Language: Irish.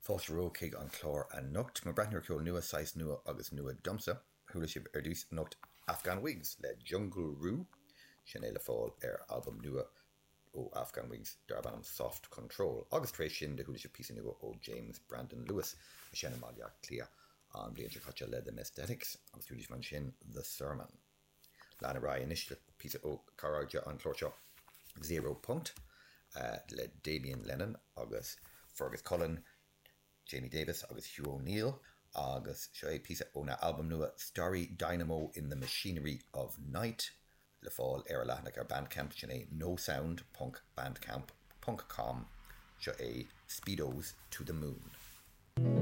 Fáilte romhaibh chuig an chlár anocht. Mar breathnú ar cheol nua, saghas nua agus nua domsa. Chuala sibh ar dtús anocht Afghan Whigs le Jungle Roo, sin é le fáil ar albam nua ó Afghan Whigs darb ainm Soft Control. Agus tar éis sin do chuala sibh píosa nua ó James Brandon Lewis a sheinn i mBaile Átha Cliath an bhliain seo caite le The Messthetics agus chuala sibh ansin The Sermon. Lean ar aghaidh anois le píosa ó chairde an chláir seo, Zero Punkt, le Damien Lennon agus Fergus Cullen, Jamie Davis agus Hugh O'Neill agus seo é píosa óna albam nua Starry Dynamo in the Machinery of Night le fáil ar a leathanach ar Bandcamp, sin é nosound ponc bandcamp ponc com, seo é Speedos to the Moon.